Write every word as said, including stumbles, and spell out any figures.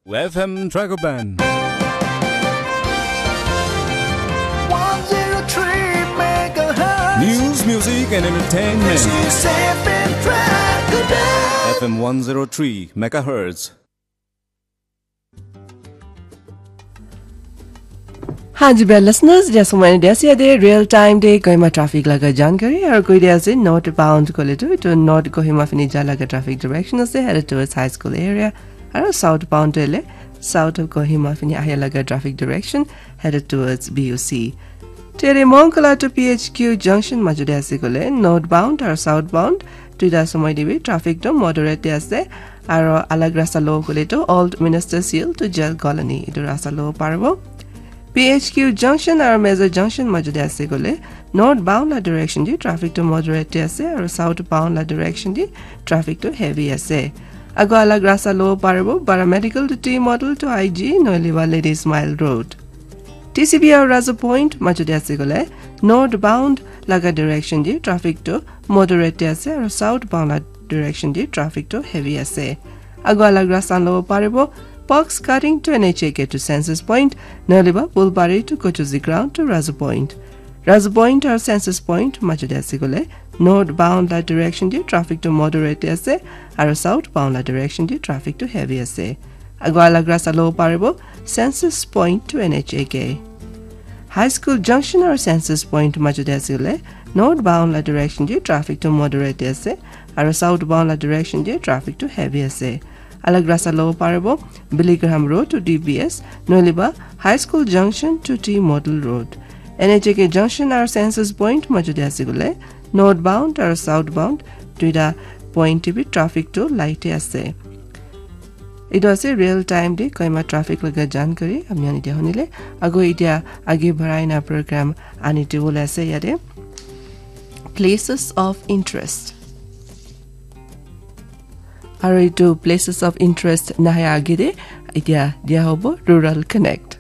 F M Dragoban. one zero three megahertz. News, music, and entertainment. This is F M Dragoban. F M one zero three megahertz. Hi, dear listeners, just one idea. Real time day Kohima traffic laga jankari aru koi dia ase northbound kole tu itu north Kohima fini ja laga traffic direction ase headed towards high school area aru southbound tu ele south of Kohima fini ahia laga traffic direction headed towards B U C. Tere Mongkala to P H Q junction majude ase kole northbound aru southbound tuida somoi dibi traffic tu moderate de ase aru alag rasta lo kole tu Old Minister Seal to Jail Colony itu rasta lo paribo. P H Q junction aru Major junction majude ase kole northbound la direction di traffic tu moderate de ase aru southbound la direction di traffic tu heavy ase. Ago alag rasta lo paribo Paramedical to T Model to I G noiliba Ladies Mile Road. T C B aru Razu Point majude ase kole northbound laga direction di traffic tu moderate de ase aru southbound la direction di traffic tu heavy ase. Ago alag rasta lo paribo Box Cutting to N H A K to Census Point noiliba Bulbari to Kochuzi Ground to Razu Point. Razu Point aru Census Point majude ase kole northbound la direction di traffic tu moderate de ase aru southbound la direction di traffic tu heavy ase. Ago alag rasta lo paribo Census Point to N H A K. High School Junction aru Census Point majude ase kole northbound la direction di traffic tu moderate de ase aru southbound la direction di traffic tu heavy ase. Alag rasta lo paribo Billy Graham Road to D B S noiliba High School Junction to T Model Road. N H A K junction aru Census Point majude ase kole northbound aru southbound tuida point te bi traffic tu light e ase. Itu ase real time de Kohima traffic laga jankari ami ani dia hunile ago itia age barai na program ani te ase yate places of interest. Aru itu places of interest nahai age de itia dia hobo Rural Connect.